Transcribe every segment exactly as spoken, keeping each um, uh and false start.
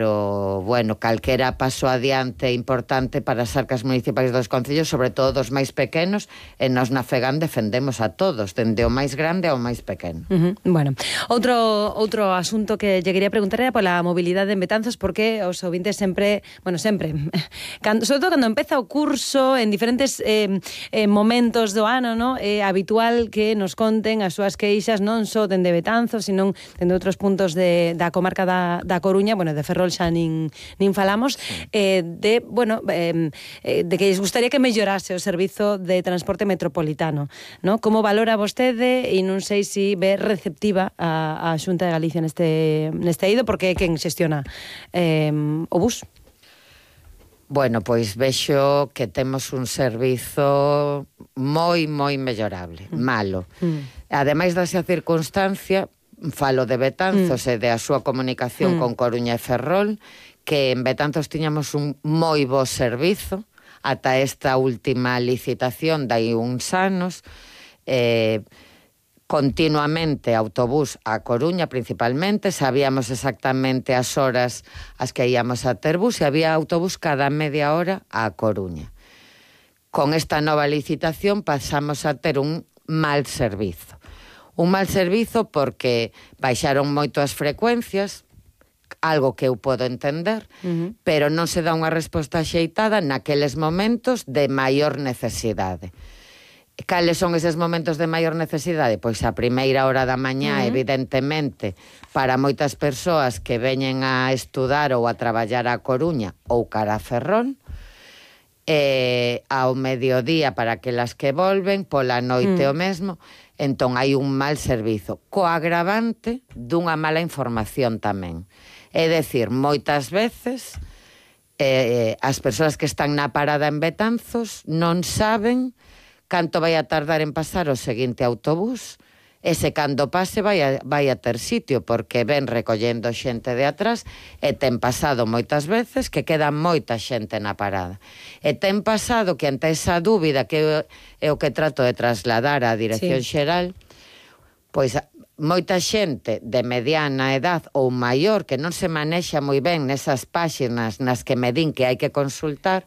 Pero, bueno, calquera paso adiante importante para as arcas municipais dos concellos, sobre todo dos máis pequenos, e nós na FEGAM defendemos a todos, dende o máis grande ao máis pequeno. Uh -huh. Bueno, outro outro asunto que lle quería preguntar era pola mobilidade en Betanzos, porque os ouvintes sempre, bueno, sempre, cando, sobre todo cando empeza o curso, en diferentes eh, eh, momentos do ano, no? É habitual que nos conten as súas queixas, non só dende Betanzos, sino dende outros puntos de, da comarca da, da Coruña, bueno, de Ferrol xa nin, nin falamos, eh, de, bueno, eh, de que lles gustaría que mellorase o servizo de transporte metropolitano, no? Como valora vostede, e non sei se ve receptiva a, a Xunta de Galicia neste, neste eido, porque é quen xestiona eh, o bus? Bueno, pois vexo que temos un servizo moi, moi mellorable, mm. malo. Mm. Ademais desa circunstancia, falo de Betanzos mm. e de a súa comunicación mm. con Coruña e Ferrol, que en Betanzos tiñamos un moi bo servizo ata esta última licitación dai uns anos, eh, continuamente autobús a Coruña principalmente, sabíamos exactamente as horas as que íamos a ter bus e había autobús cada media hora a Coruña. Con esta nova licitación pasamos a ter un mal servizo. Un mal servizo porque baixaron moito as frecuencias, algo que eu podo entender, uh -huh. pero non se dá unha resposta axeitada naqueles momentos de maior necesidade. Cales son eses momentos de maior necesidade? Pois a primeira hora da mañá, uh -huh. evidentemente, para moitas persoas que veñen a estudar ou a traballar a Coruña ou cara a Ferrol, e ao mediodía para aquelas que volven, pola noite uh -huh. o mesmo. Entón hai un mal servizo, co agravante dunha mala información tamén. É dicir, moitas veces eh, as persoas que están na parada en Betanzos non saben canto vai a tardar en pasar o seguinte autobús, e se cando pase vai a, vai a ter sitio, porque ven recollendo xente de atrás, e ten pasado moitas veces que queda moita xente na parada. E ten pasado que ante esa dúbida que é o que trato de trasladar á Dirección sí. Xeral, pois moita xente de mediana edad ou maior que non se manexa moi ben nesas páxinas nas que me din que hai que consultar,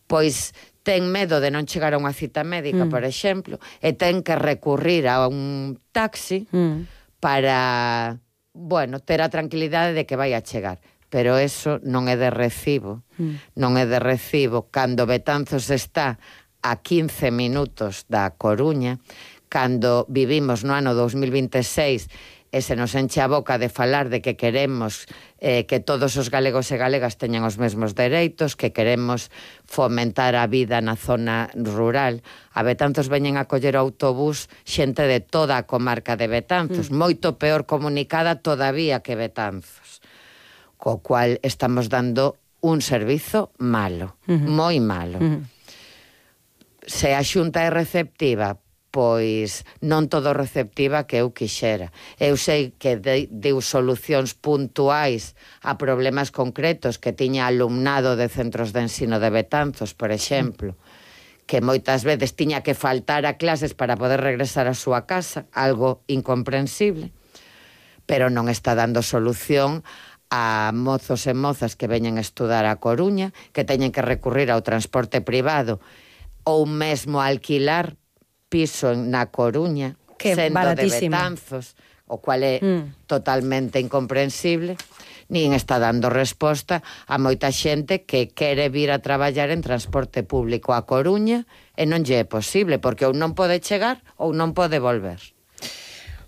pois ten medo de non chegar a unha cita médica, mm. por exemplo, e ten que recurrir a un taxi mm. para, bueno, ter a tranquilidade de que vai a chegar. Pero eso non é de recibo. Mm. Non é de recibo cando Betanzos está a quince minutos da Coruña, cando vivimos no ano dos mil vinte e seis e se nos enche a boca de falar de que queremos eh, que todos os galegos e galegas teñan os mesmos dereitos, que queremos fomentar a vida na zona rural. A Betanzos veñen a coller o autobús xente de toda a comarca de Betanzos, mm. moito peor comunicada todavía que Betanzos, co cual estamos dando un servizo malo, mm-hmm. moi malo. Mm-hmm. Se a Xunta é receptiva, pois non todo receptiva que eu quixera. Eu sei que de, deu solucións puntuais a problemas concretos que tiña alumnado de centros de ensino de Betanzos, por exemplo, que moitas veces tiña que faltar a clases para poder regresar a súa casa, algo incomprensible, pero non está dando solución a mozos e mozas que veñen a estudar a Coruña, que teñen que recurrir ao transporte privado ou mesmo a alquilar piso na Coruña, que sendo baratísimo. De Betanzos, o cual é mm. totalmente incomprensible, nin está dando resposta a moita xente que quere vir a traballar en transporte público a Coruña e non lle é posible, porque ou non pode chegar ou non pode volver.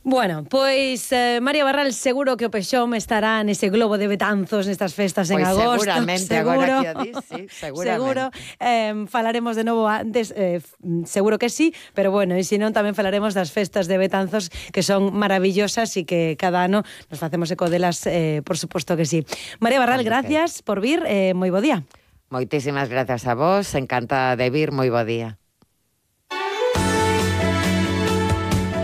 Bueno, pois eh, María Barral, seguro que o Pexón estará nese globo de Betanzos nestas festas en pues agosto. Seguramente, seguro, agora que o dis, sí, seguramente. Seguro, eh, falaremos de novo antes, eh, seguro que sí, pero bueno, e se non tamén falaremos das festas de Betanzos, que son maravillosas e que cada ano nos facemos eco delas, eh, por suposto que sí. María Barral, gracias okay. por vir, eh, moi bo día. Moitísimas gracias a vos, encantada de vir, moi bo día.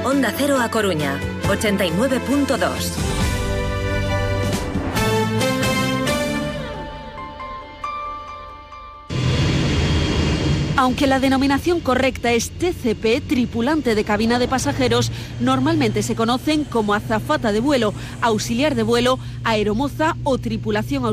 Onda Cero a Coruña, ochenta y nueve punto dos. Aunque la denominación correcta es T C P, tripulante de cabina de pasajeros, normalmente se conocen como azafata de vuelo, auxiliar de vuelo, aeromoza o tripulación auxiliar